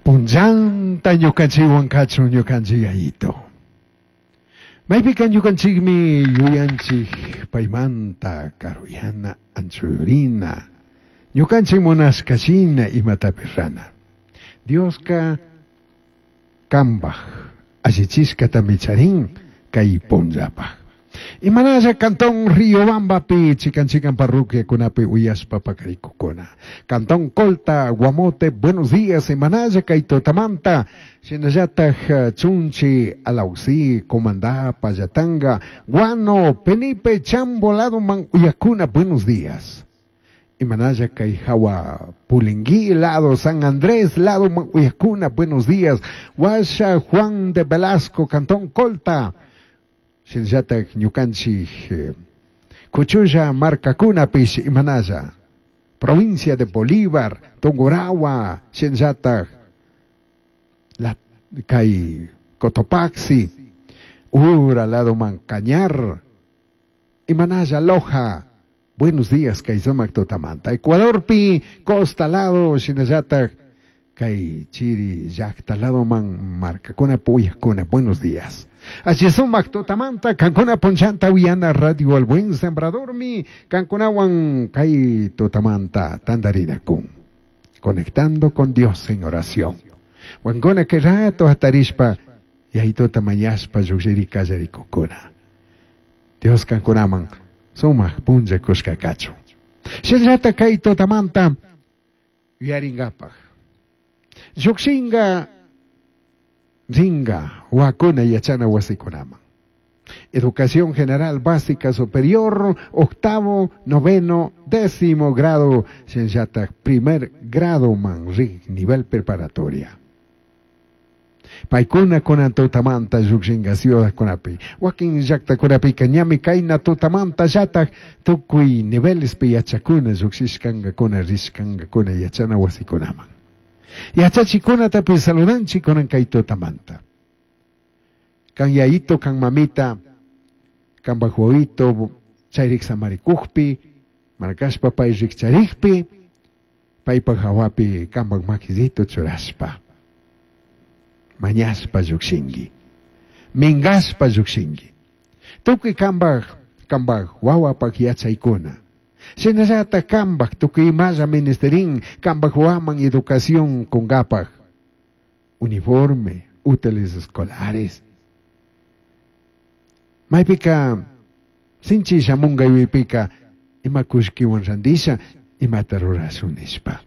Punllanta ñukanchikwan kachun ñukanchik Yayito. Maypika ñukanchikmi yuyanchik paymanta karuyana, anchurina, ñukanchik munashka shina imatapish rana. Dioska kambaj allichishkatami charin kay punllapaj. Imanalla Cantón Riobambapi chikan chikan parroquiakunapi uyashpa pakarikukuna. Cantón Colta, Guamote, buenos días, imanalla kay tutamanta, shinallataj Chunchi, Alausí, Comandá, Pallatanga, Guano, Penipe, Chambo, ladoman uyakuna, buenos días. Imanalla kay hawa Pulingui, lado San Andrés, lado uyakuna, buenos días. Huasha, Juan de Velasco, Cantón Colta. Shinallataj ñukanchik Kuchulla markakunapish imanalla. Provincia de Bolívar, Tungurahua, shinallataj la kay Cotopaxi, Ura, ladoman Cañar, imanalla Loja. Buenos días, kay sumak tutamanta. Ecuadorpi, Costa lado, shinallataj kay chiri llaqta ladoman markakuna puyakuna. Buenos días. Así sumak tutamanta, kankuna punchanta uyana radio El Buen Sembradormi, kankunawan kay tutamanta tandarinakun. Conectando con Dios en oración. Wankuna kay rato hatarishpa, yayituta mañashpa llukshiri kallarikukuna. Dios kankunaman sumak punlla kushka kachun. Shinallata kay tutamanta yuyaringapaj. Llukshinga ringa wakuna yachana wasikunaman. Educación General Básica Superior, octavo, noveno, décimo grado, shinallata primer grado man rig, nivel preparatoria. Paykuna kunan tutamanta llukshinga ciudadkunapi. Wakin llaqtakunapika ñami kayna tutamanta llatak tukuy nivelespi yachakuna llukshishkankakuna rishkankakuna yachana wasikunaman. Yachachikunatapish saludanchik kunan kay tutamanta. Kan yayito, kan mamita, kan wawito chayrik samarikukpi, markashpa pay rikcharikpi, paypak hawapi kanpak makisito churashpa. Mañashpa llukshinki, minkashpa llukshinki. Tukuy kanpak, kanpak wawapak yachaykuna. Shinallatak kanpak tukuy imalla ministerin kanpak wawaman educación kunkapak. Uniforme, útiles escolares. Maypika sinchi shamunka yuypika ima kullkiwan randisha imata rurashun nishpa.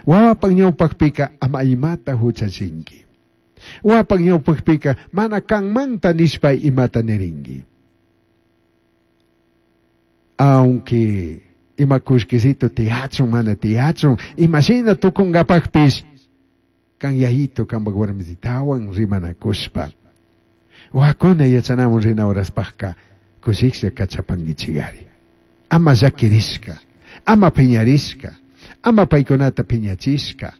Wawapak ñawpakpika ama imata huchachinki. Wawapak ñawpakpika mana kanmanta nishpa imata nirinki. Aunque ima kullkisito tiyachun mana tiyachun, imashina tukunkapakpish kan yayito kanpak warmisitawan rimanakushpa. Wakuna yachanamun rina horaspajka kushiklla kachapankichikari. Ama llakirishka, ama piñarishka, ama paykunata piñachishka.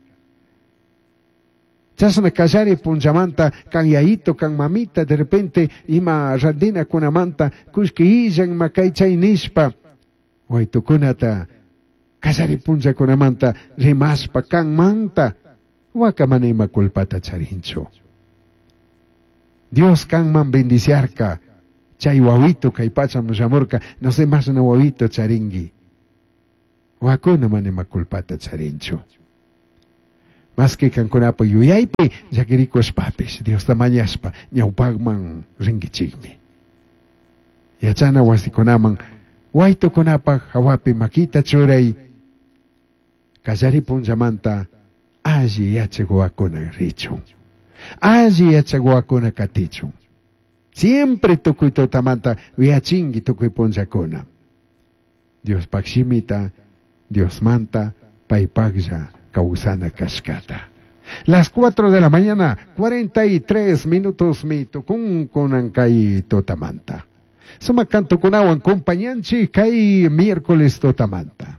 Chashna kallari punchamanta kan yayito kan mamita de repente ima randinakunamanta kullki illan ima kay chay nishpa waytukunata kallari punllakunamanta rimashpa kanmanta waka mana ima culpata charinchu. Dios kanman bendiciarka chay wawito kay pachaman shamurka no sé mashna wawito charinki. Wakuna mana ima culpata charinchu. Más que kankunapa yuyaypi llakirikushpapish Diosta mañashpa ñawpakman rinkichikmi. Yachana wasikunaman waytukunapaj hawapi makita churay kallari punchamanta alli yachak wawakuna richun. Alli yachak wawakuna katichun. Siempre tukuy tutamanta yachinki tukuy punllakuna. Diospak shimita, Diosmanta, paypaklla kawsana kashkata. Las 4 de la mañana, 43 minutos mi tukun kunan kay tutamanta. Sumak cantokunawan compañanchik kay miércoles tutamanta.